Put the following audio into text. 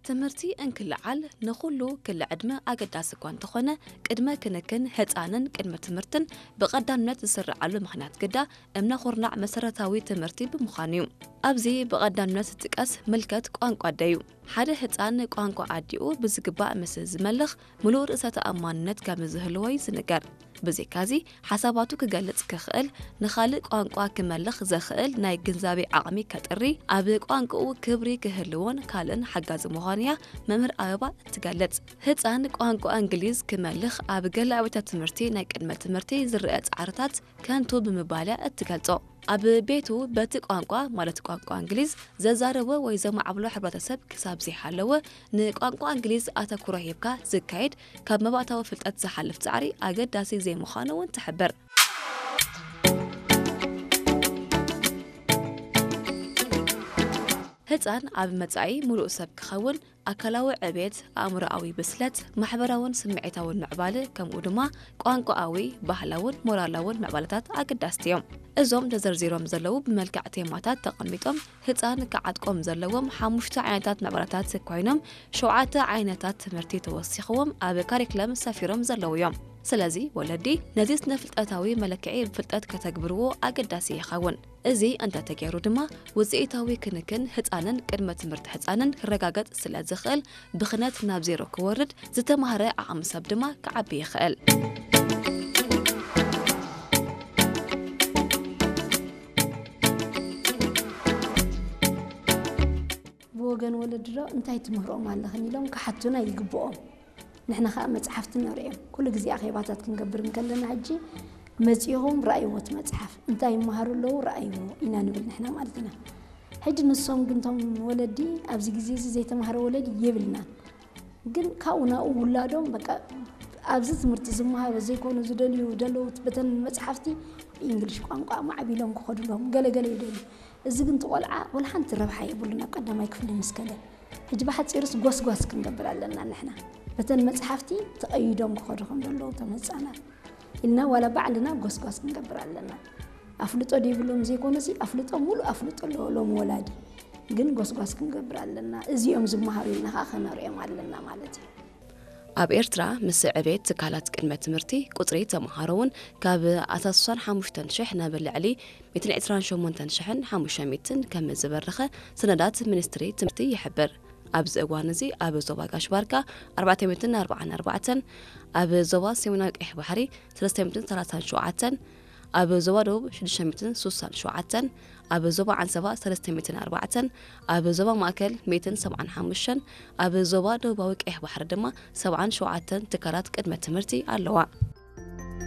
ትምህርቲ እንክልዓል ንኹሉ ክሊ ዕድመ ኣገዳሲ እኳ እንተኾነ፣ ቅድመ ክንክን ህፃንን ቅድመ ትምህርትን ብቐዳምነት ዝስርዓሉ ምኽንያት ግዳ እምነ ኩርናዕ መሰረታዊ ትምህርቲ ብምዃኑ እዩ። ኣብዚ ብቐዳምነት ዝጥቀስ ምልከት ቋንቋ ኣደዩ። ሓደ ህፃን ቋንቋ ኣዲኡ ብዝግባእ ምስ ዝመልኽ፣ ምሉእ ርእሰ ተኣማንነት ከም ዝህልዎ እዩ ዝንገር። ብዘይካዚ፣ ሓሳባቱ ክገልጽ ክኽእል፣ ንኻልእ ቋንቋ ክመልኽ ዘኽእል ናይ ግንዛቤ ዓቕሚ ከጥሪ፣ ኣብ ቋንቋኡ ክብሪ ክህልዎን ካልእን ሓጋዚ ምዃኑ እያ መምህር ኣበባ እትገልጽ። ህጻን ቋንቋ እንግሊዝ ክመልኽ ኣብ ገለ ኣብያተ ትምህርቲ ናይ ቅድመ ትምህርቲ ዝረአ ጻዕርታት ከንቱ ብምባል እያ እትገልጾ። ኣብ ቤቱ በቲ ቋንቋ፣ ማለት ቋንቋ እንግሊዝ፣ ዘዛረቦ ወይ ዘማዕብሎ ሕብረተሰብ ክሳብ ዘይሃለወ፣ ንቋንቋ እንግሊዝ ኣተኩሮ ሂብካ ዝካየድ ካብ መባእታዊ ፍልጠት ዝሓልፍ ጻዕሪ ኣገዳሲ ዘይምዃኑ እውን ትሕብር። ህጻን ኣብ መጻኢ ምሉእ ሰብ ክኸውን ኣካላዊ ዕቤት፣ ኣእምሮኣዊ ብስለት፣ ማሕበራውን ስምዒታውን ምዕባለ፣ ከምኡ ድማ ቋንቋኣዊ፣ ባህላውን ሞራላውን ምዕባለታት ኣገዳስቲ እዮም። እዞም ተዘርዚሮም ዘለዉ ብመልክዕ ቴማታት ተቐሚጦም ህጻን ክዓጥቆም ዘለዎም ሓሙሽተ ዓይነታት ምዕባለታት ኮይኖም፣ ሸውዓተ ዓይነታት ትምህርቲ ተወሲኽዎም ኣብ ካሪክለም ሰፊሮም ዘለዉ እዮም። ስለዚ ወለዲ ነዚ ስነ ፍልጠታዊ መለክዒ ብፍልጠት ከተግብርዎ ኣገዳሲ ይኸውን። እዚ እንተተገይሩ ድማ ውፅኢታዊ ክንክን ህፃንን ቅድመ ትምህርቲ ህፃንን ክረጋገፅ ስለ ዝኽእል ብኽነት ናብ ዜሮ ክወርድ፣ ዝተማህረ ዓቕሚ ሰብ ድማ ክዓቢ ይኽእል። ብወገን ወለዲ ዶ እንታይ ትምህሮም ኣለኽን ኢሎም ክሓቱና ይግብኦም። ንሕና ኸኣ መጽሓፍቲ ነርእዮም። ኩሉ ግዜ ኣኼባታት ክንገብር እንከለና ሕጂ መጺኹም ረኣይዎ እቲ መጽሓፍ። እንታይ ይመሃሩ ኣለዉ ረኣይዎ ኢና ንብል ንሕና ማለት ኢና። ሕጂ ንሶም ግን እቶም ወለዲ ኣብዚ ግዜ እዚ ዘይተማህረ ወለዲ የብልናን። ግን ካብኡ ናብኡ ውላዶም በቃ ኣብዚ ትምህርቲ ዝመሃሩ ዘይኮኑ ዝደልዩ ዘለዉ በተን መጽሓፍቲ ብእንግሊሽ ቋንቋ ማዕቢሎም ክኸዱ ኣለዎም። ገለ ገለ ይደልዩ። እዚ ግን እቲ ቆልዓ ወላ ሓንቲ ረብሓ የብሉን ኣብ ቀዳማይ ክፍሊ ምስ ከደ። ሕጂ ብሓጺሩስ ጎስጓስ ክንገብር ኣለና ንሕና። በተን መጽሓፍቲ ተቐይዶም ክኸዱ ከም ዘለዉ እቶም ህጻናት ኢልና ዋላ ባዕልና ጎስጓስ ክንገብር ኣለና። ኣፍልጦ ደይብሎም ዘይኮነሲ ኣፍልጦ፣ ሙሉእ ኣፍልጦ ኣለዎ ሎም ወላዲ። ግን ጎስጓስ ክንገብር ኣለና። እዚኦም ዝመሃሩ ኢልና ኸኣ ከነርእዮም ኣለና ማለት እዩ። ኣብ ኤርትራ ምስ ዕቤት ትካላት ቅድመ ትምህርቲ ቁጽሪ ተምሃሮ እውን ካብ ኣስታት ስሳን ሓሙሽተን ሽሕ ናብ ልዕሊ ሚእትን ዕስራን ሸሞንተን ሽሕን ሓሙሽተ ሚእትን ከም ዝበረኸ ሰነዳት ሚኒስትሪ ትምህርቲ ይሕብር። ኣብዚ እዋን እዚ ኣብ ዞባ ጋሽ ባርካ ኣርባዕተ ሚእትን ኣርባዓን ኣርባዕተን፣ ኣብ ዞባ ሰሜናዊ ቀይሕ ባሕሪ ሰለስተ ሚእትን ሰላሳን ሸውዓተን፣ ኣብ ዞባ ደቡብ ሽዱሽተ ሚእትን ስሳን ሸውዓተን፣ ኣብ ዞባ ዓንሰባ ሰለስተ ሚእትን ኣርባዕተን፣ ኣብ ዞባ ማእከል ሚእትን ሰብዓን ሓሙሽተን፣ ኣብ ዞባ ደቡባዊ ቀይሕ ባሕሪ ድማ ሰብዓን ሸውዓተን ትካላት ቅድመ ትምህርቲ ኣለዋ።